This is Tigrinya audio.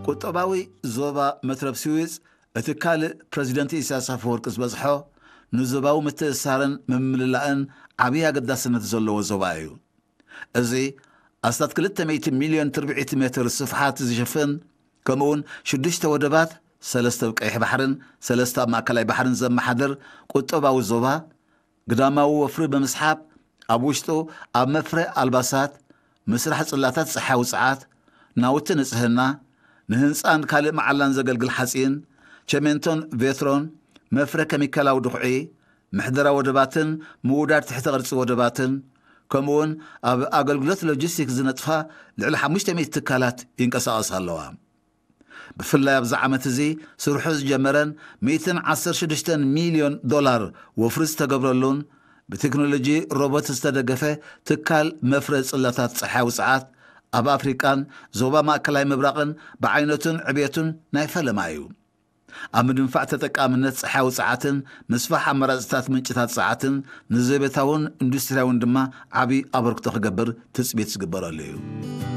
ቁጠባዊ ዞባ መትረብ ስዊዝ እቲ ካልእ ፕረዚደንት ኢሳያስ ኣፈወርቂ ዝበጽሖ ንዞባዊ ምትእስሳርን ምምልላእን ዓብዪ ኣገዳስነት ዘለዎ ዞባ እዩ። እዚ ኣስታት ክልተ ሚእቲ ሚልዮን ትርብዒት ሜትር ስፍሓት ዝሽፍን፣ ከምኡውን ሽዱሽተ ወደባት፣ ሰለስተ ኣብ ቀይሕ ባሕርን ሰለስተ ኣብ ማእከላይ ባሕርን ዘመሓድር ቁጠባዊ ዞባ፣ ግዳማዊ ወፍሪ ብምስሓብ ኣብ ውሽጡ ኣብ መፍረ ኣልባሳት፣ ምስራሕ ጽላታት ጸሓያዊ ጸዓት፣ ናውቲ ንጽህና፣ ንህንጻን ካልእ መዓላን ዘገልግል ሓጺን፣ ቸሜንቶን ቬትሮን፣ መፍረ ኬሚካላዊ ድኹዒ፣ ምሕደራ ወደባትን ምውዳድ ትሕተ ቅርጺ ወደባትን፣ ከምኡውን ኣብ ኣገልግሎት ሎጂስቲክስ ዝነጥፋ ልዕሊ ሓሙሽተ ሚእቲ ትካላት ይንቀሳቐሳ ኣለዋ። ብፍላይ ኣብዚ ዓመት እዚ ስርሑ ዝጀመረን ሚእትን ዓሰርተ ሽዱሽተን ሚልዮን ዶላር ወፍሪ ዝተገብረሉን ብቴክኖሎጂ ሮቦት ዝተደገፈ ትካል መፍረ ጽላታት ጸሓያዊ ጸዓት ኣብ ኣፍሪቃን ዞባ ማእከላይ ምብራቕን ብዓይነቱን ዕብየቱን ናይ ፈለማ እዩ። ኣብ ምድንፋዕ ተጠቃምነት ጸሓያዊ ጸዓትን ምስፋሕ ኣማራጽታት ምንጭታት ጸዓትን ንዘቤታውን ኢንዱስትርያውን ድማ ዓቢ ኣበርክቶ ክገብር ትጽቢት ዝግበረሉ እዩ።